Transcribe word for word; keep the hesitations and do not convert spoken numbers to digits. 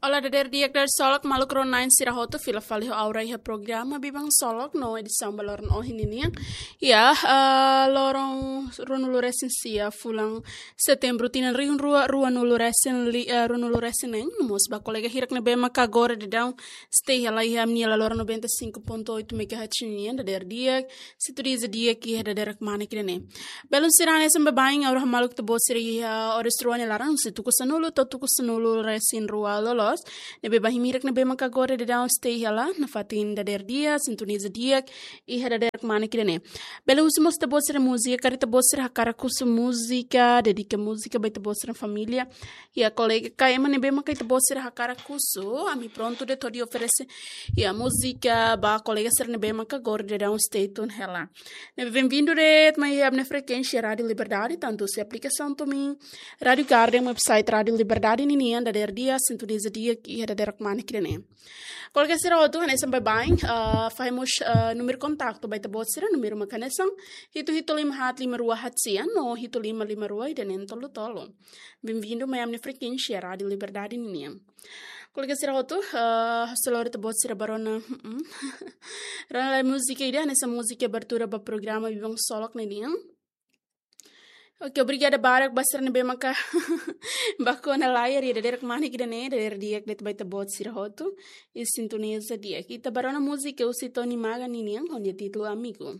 Olá, dader di'ak, dader solok, maluk rona-na'in sira hotu, fila fali ho ha'u iha programa Biban Solok no edisaun ba loron ohin ninian. Ya, ah, loron ruanulu-resin-sia fulan Setembru tinan rihun rua, ruanulu-resin li-, ah, ruanulu-resin-neen, no mós ba kolega hirak ne'ebé maka agora daudaun stay hela iha ami-nia laloran noventa e cinco ponto oito megahertz nian, dader di'ak, sintonia di'ak iha dadeer kmanek ida-ne'e. Belun sira, hanesan baibain, agora maluk ita-boot sira iha oras rua nia laran, husi tuku sanulu to'o tuku sanulu-resin-rua loloos. Ne'ebé ba imi hirak ne'ebé maka agora daudaun stay hela, nafatin dader di'ak, sintonia di'ak iha dadeer kmanek ida-ne'e. Belun, husi mós ita-boot sira múzika, karik ita-boot sira hakarak husu múzika, dedika múzika ba ita-boot sira família, ya, kolega ka ema ne'ebé maka ita-boot sira hakarak husu, ami prontu de'it hodi oferese, ya, múzika ba kolega sira ne'ebé maka agora daudaun stay tune hela. Ne'ebé benvindu de'it mai iha ami-nia frekuénsia Rádio Liberdade, tantu husi aplikasaun Tumin, Rádio Garden, website Rádio Liberdade ninian, dader di'ak, sintonia di'ak iha dadeer kmanek ida-ne'e. Kolega sira hotu, hanesan baibain, ah, fahe mós, ah, númeru kontaktu ba ita-boot sira, númeru maka hanesan hitu hitu lima haat lima rua haat sia no hitu lima lima rua ida-ne'e tolu tolu. Benvindu mai ami-nia frekuénsia Rádio Liberdade ninian. Kolega sira hotu, ah, ha'u sei lori ita-boot sira ba rona, mm, rona lai múzika ida, hanesan múzika abertura ba programa Biban Solok ninian. Oke, obrigada barak ba sira ne'ebé maka bá kona layar iha dadeer kmanek ida-ne'e, dader di'ak de'it ba ita-boot sira hotu, i sintonia di'ak. Ita bá rona múzika husi Tony Maga ninian, ho nia títulu Amigu.